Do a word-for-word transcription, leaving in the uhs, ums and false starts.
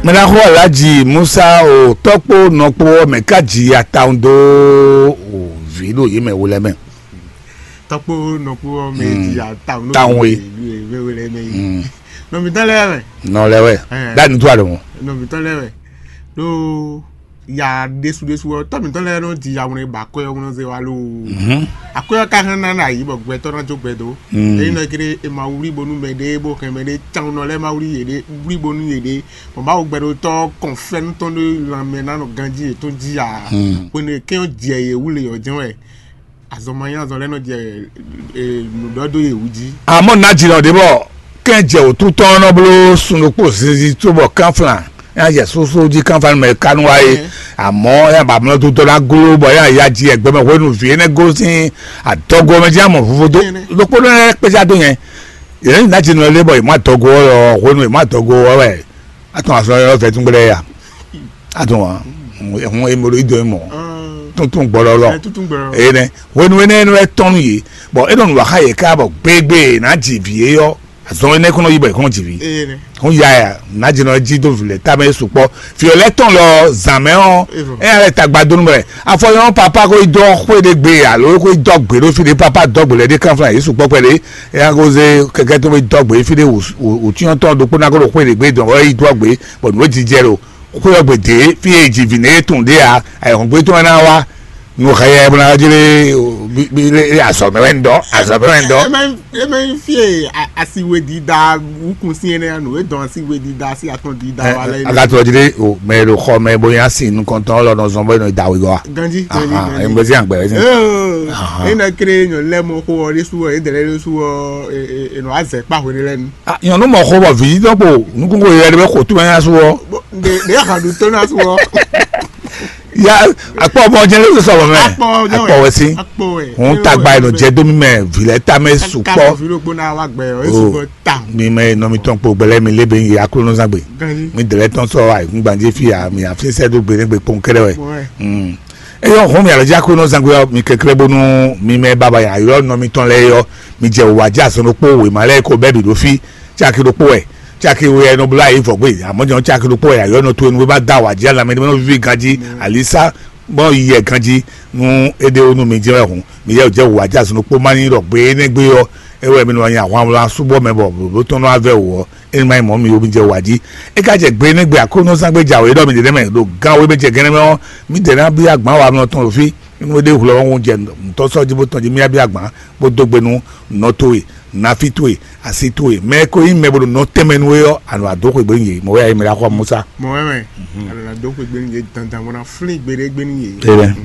Mɛ ná xɔ Alhaji Musa o tɔkpo nɔkpo ɔ́ mɛ ká ji atawun dó o vǐ ɖo yě mɛ wo lɛ́ɛ mɛ. Tɔkpo nɔkpo ɔ́ mɛ ji atawun nɔ Tawun we. Wéwé lɛ mɛ yi. Nɔmitɔ lɛ wɛ. Nɔ lɛ wɛ. Ɛɛ. Dani tó a lɔ mɔ. Nɔmitɔ lɛ wɛ. Ɖó ya ɖésú ɖésú ɔ́, tɔ́ mǐtɔn lɛ́ɛ nɔ ji awlɛn ba akwɛ́ ɔ́ nɔ zé wá loo. Akwɛ́ ɔ́ ka hɛn ná na yǐ bɔ gbɛtɔ́ ná jó gbɛ dó. Ényí nɔ kéré è ma wlí bónú mɛɖé bó hɛn mɛɖé tawun nɔ lɛ́ɛ ma wlí yěɖée, wlí bónú yěɖée, bɔ Mawu gbɛɖotɔ́ kɔn fɛ́nú tɔn ɖó lanmɛ ná nɔ ganjí yětɔn jí ǎ. Hwenu e kɛ́n ɔ́ jɛ yě wú le ɔ́ jɛ́n wɛ azɔn ma nyí azɔn lɛ́ɛ nɔ jɛ nǔɖɔdó yě wú jí. Amɔ̌ nǎjínɔ ɖě bɔ kɛ́n jɛ wǒtú tɔn nɔ bló sun ɖokpó zinzin cóbɔ kánflán é ná jɛ sósó jí kánflán mɛ ka nú wa é. Amɔ̌ é ná ba mlɔ́ tutɔ ná gló bɔ é ná ya ji ɛgbɛ mɛ hwenu vǐ énɛ́ gosín adɔgo mɛ jí amɔ vovo dó. Ɖokpónɔ lɛ́ɛ kpéjá dó nyɛ. Yě nǎjínɔ lé bɔ yě má dɔgo ɔ́ hwenu yě má dɔgo ɔ́ wɛ atɔn azɔn ɔ́ vɛ́ tún gbɛɖɛ ya. Atɔn wa hun emolo ido mɔ tuntun gbɔlɔlɔ. Ene hwenu ene enu etɔn nu yi bɔ e nɔ nu waxa yɛ ka bɔ gbegbe na ji vi ye yɔ azɔn ene kɔnɔ yi bɔ e kɔnɔ ji vi. Hun ya ya na ji nɔ ji do vilɛ tamɛ sukpɔ fiɔ lɛ tɔn lɔ zan mɛ ɔ eya lɛ tagba donu bɛ afɔ yɔ papa ko dɔ xwe de gbe alo ko dɔ gbe ɖo fi de papa dɔ gbe lɛ de kanflan yesu kpɔkpɛ de eya ko ze kɛkɛ to be dɔ gbe fi de wòtúnyɔ tɔn ɖokpó na ko ɖo xwe de gbe dɔn ɔ yi dɔ gbe bɔ nǔ e jijɛ ɖo xwé ɔ́ gbe dě fí e è ji vǐ nɛ é tunwun ɖě ǎ, ayǐhɔ́ngbe tɔn wɛ ná wá. Nu xɛ yɛ bó ná jlé azɔ̌ mɛ wɛ ń dɔn, azɔ̌ mɛ wɛ ń dɔn. Eme eme fie asiwe dida wukun si ene anu e dɔn asiwe dida si atɔn dida wa lɛ. Agatɔ jlé o mɛ ɖo xɔ mɛ bó yá si nukɔntɔn lɔ nɔ zɔn bó nɔ da wigɔ wa. Ganji ganji ganji. Eme si àgbẹ̀ ɛ si. Ee ena kéré nyɔ lɛ mɔ xo ɔ ɖe su ɔ edɛlɛ ɖe su ɔ enɔ azɛ kpa hwe ɖe lɛ nu. Nyɔnu mɔ xo bɔ vǐ dɔn kpo nukúngo yɛ ɖe bɛ xo túmɛ nya su ɔ. Ɖe ɖe ahan ɖu tó ná su ɔ. Ya akpɔ bɔ jɛ lóṣù sọ̀rọ̀ mɛ. Akpɔ wɛ sí. Akpɔ wɛ. Hun tagba eno jɛ domi mɛ vilɛ tamɛ sukpɔ. Akpɔ vi ló gbóná wa gbɛ ɔ esu bɔ ta. Mi mɛ nɔ mi tɔn kpo gbɛlɛ mi lebe yi aklo nɔ zagbe. Mi dɛlɛ tɔn sɔ ayikun gbanje fi ya mi afi sɛ do gbe ne gbe kpɔn kɛrɛ wɛ. Eyɔ hun mi alɔ dza aklo nɔ zagbe ɔ mi kɛkɛrɛ bonu mi mɛ baba ya yɔ nɔ mi tɔn lɛ yɔ mi jɛ wa dza sɔnɔ kpo wema lɛ ko bɛ bi ɖo fi. Caki ɖokpó wɛ, caki we wɛ nɔ bló ayǐ vɔ gbé, amɔ̌ jɛ́n caki ɖokpó wɛ ayɔ́ nɔ towe nú bó bá dó awǎ jí alamɛ ɖé nɔ víví ganjí, alisa gbɔn yiyɛ ganjí nú é ɖé wú nú mi jɛ́n wɛ hǔn, mi yɛ jɛ wǔ wá jɛ azɔn ɖokpó má nyí ɖɔ gbé énɛ́ gbé ɔ́, é wɛ mi nɔ nyi ahwan wlán súbɔ mɛ bɔ blǒbló tɔn nɔ wá vɛ wǔ ɔ́, é ní má nyí mɔ̌ mi ó mi jɛ wǎ jí. É ka jɛ gbé énɛ́ gbé Aklúnɔzán gbé jǎwe ɖɔ mi ɖě mɛ ɖo gán wé mɛ jɛ gɛ́nɛ́ mɛ ɔ́, mǐdɛɛ ná byɔ́ agban wa nɔ tɔn ɖo fí, nú é ɖé hwlɛ́ ɔ́ wún jɛ nǔtɔ́ sɔ́ jí bó tɔn jí mì byɔ́ agban bó dó gbe nú nɔ towe, nafi towe, asi towe, mɛ e ko nyí mɛ bo ɖo nɔ tɛnmɛ nú we ɔ́, a nɔ wá dó xwegbe nú yě. Mɔ̌ wɛ a yi mɛ ɖo axɔ Musa. Mɔ̌ wɛ mɛ, a nɔ ná dó xwegbe nú yě dandan bó ná flín gbeɖé gbe nú yě. Amen.